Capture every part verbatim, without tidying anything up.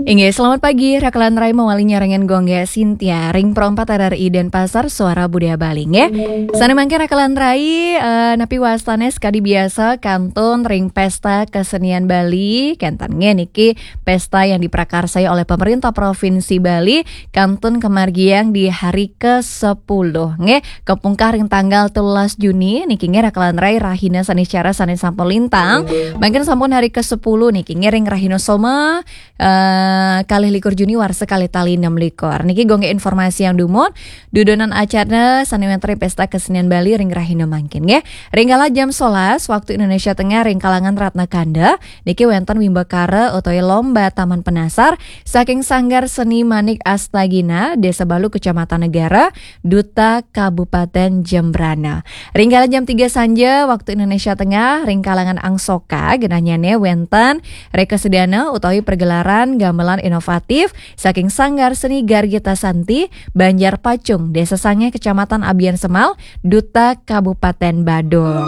Inggih, selamat pagi, Rakalan Rai mawali nyarengin Gung Gé Sintia, ring Pro empat R R I Denpasar, Suara Budaya Bali, nggih. Sané mangkin Rakalan Rai, eh, napi wastané sakadi biasa kantun ring Pesta Kesenian Bali, kénten nggih niki pesta yang diprakarsai oleh pemerintah Provinsi Bali, kantun kamargiang di hari kesepuluh, nggih, kapungkah ring tanggal telulas Juni, niki nggih Rakalan Rai rahina sané cara sané sampun lintang, mangkin sampun hari kesepuluh niki nggih ring rahina Soma, eh, kalih likur Juni warsa kalih tali enam likur. Niki Gung Gé informasi yang dumun, dudonan acara sané wénten ring Pesta Kesenian Bali ring rahina mangkin nggih. Ring kala jam sebelas waktu Indonesia Tengah ring kalangan Ratna Kanda, niki wénten wimbakara utawi lomba Taman Penasar saking Sanggar Seni Manik Astagina, Desa Balu, Kecamatan Negara, Duta Kabupaten Jembrana. Ring kala jam tiga sanja waktu Indonesia Tengah, ring kalangan Angsoka, genahnyané wénten rekasedana utawi pergelaran gamelan inovatif saking Sanggar Seni Gargita Santi, Banjar Pacung, Desa Sangeh, Kecamatan Abiansemal, Duta Kabupaten Badung.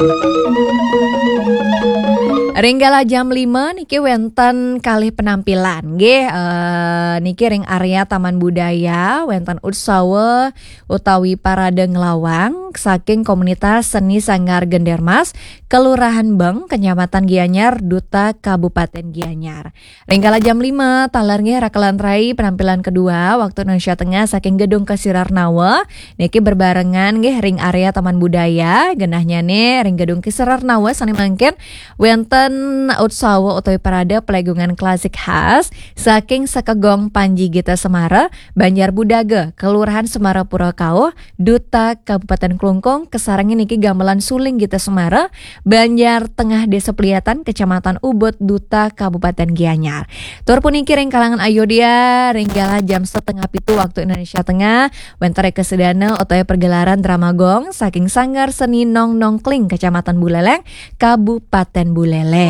Ring kala jam lima niki wénten kalih penampilan, nggih, eh, niki ring area Taman Budaya, wénten utsawa utawi parade nglawang saking komunitas seni Sanggar Gendermas, Kelurahan Beng, Kecamatan Gianyar, Duta Kabupaten Gianyar. Ring kala jam lima taler nggih Rakalan Rai penampilan kedua waktu Indonesia Tengah saking Gedung Kesirarnawa. Niki berbarengan nggih ring area Taman Budaya, genahnyané ring Gedung Kesirarnawa sané mangkin wénten utsawa utawi parade pelegungan klasik khas saking Sekegong Panji Gita Semara, Banjar Budaga, Kelurahan Semarapura Kauh, Duta Kabupaten Klungkung, kasarengin niki gamelan suling Gita Semara, Banjar Tengah, Desa Peliatan, Kecamatan Ubud, Duta Kabupaten Gianyar. Tur puniki ring kalangan Ayodya, ring kala jam setengah pitu waktu Indonesia Tengah, wénten rekasedana utawi pergelaran drama gong saking Sanggar Seni Nong Nongkling, Kecamatan Buleleng, Kabupaten Buleleng.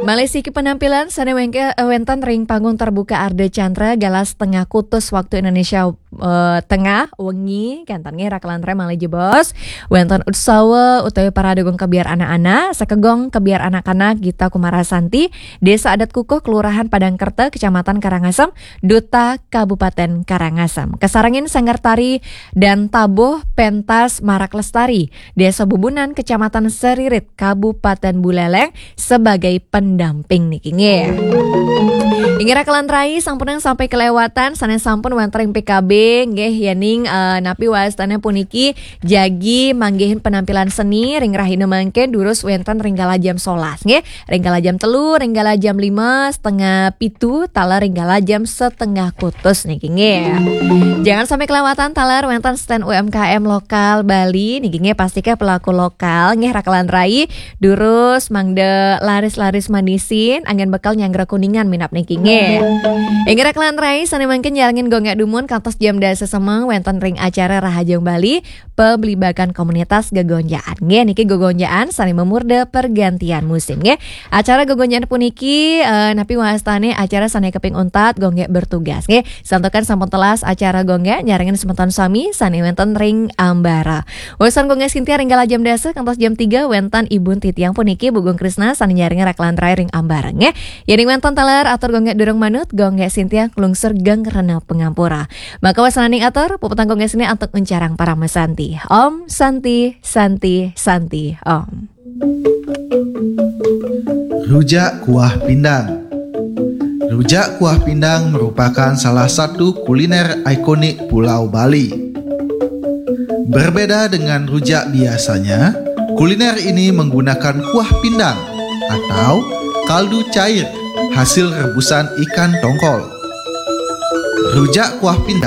Malih siki penampilan sané wéngké-, eh, wénten ring panggung terbuka Ardha Candra, kala setengah kutus waktu Indonesia, eh, Tengah wengi, kénten nggih Rakalan Rai malih jebos. Wénten utsawa utawi parade gong kebyar anak-anak, Sekegong Kebyar Anak-anak Gita Kumarasanti, Desa Adat Kukuh, Kelurahan Padangkerta, Kecamatan Karangasem, Duta Kabupaten Karangasem. Kasarengin Sanggar Tari dan Tabuh Pentas Marak Lestari, Desa Bubunan, Kecamatan Seririt, Kabupaten Buleleng, sebagai pendamping niki nggih. Inggih Rakalan Rai, sampunang sampai kelewatan, sané sampun wénten ring P K B nggih, yéning, eh, napi wastané puniki jagi manggihin penampilan seni ring rahina mangkin durus wénten ring kala jam sebelas nggih. Ring kala jam telu, ring kala jam lima, setengah pitu, taler ring kala jam setengah kutus niki nggih. Jangan sampai kelewatan taler wénten stand U M K M lokal Bali niki nggih, pastika pelaku lokal nggih Rakalan Rai durus mangda laris-laris manisin anggén bekal nyanggra Kuningan minab niki nggih. Inggih Rakalan Rai sané mangkin nyarengin Gung Gé dumun kantos jam dasa semeng wénten ring acara Rahajeng Bali, pebligbagan komunitas gegonjaan. Nggih, niki gegonjaan sané mamurda pergantian musim, nggih. Acara gegonjaan puniki, eh, napi wastané acara sané kaping untat Gung Gé bertugas, nggih. Santukan sampun telas acara Gung Gé nyarengin semeton sami sané wénten ring ambara. Wésan Gung Gé Sintia ring kala jam dasa kantos jam tiga wénten ibun titiang puniki Bu Gung Krisna sané nyarengin Rakalan Rai ring ambara, nggih. Yéning wénten taler atur Gung Gé durung manut, Gung Gé Sintia nglungsur geng rena pangampura. Maka wasananing atur, puputang Gung Gé Sintia antuk nguncarang parama santi. Om Santi, Santi, Santi, Om. Rujak kuah pindang. Rujak kuah pindang merupakan salah satu kuliner ikonik Pulau Bali. Berbeda dengan rujak biasanya, kuliner ini menggunakan kuah pindang atau kaldu cair hasil rebusan ikan tongkol. Rujak kuah pindang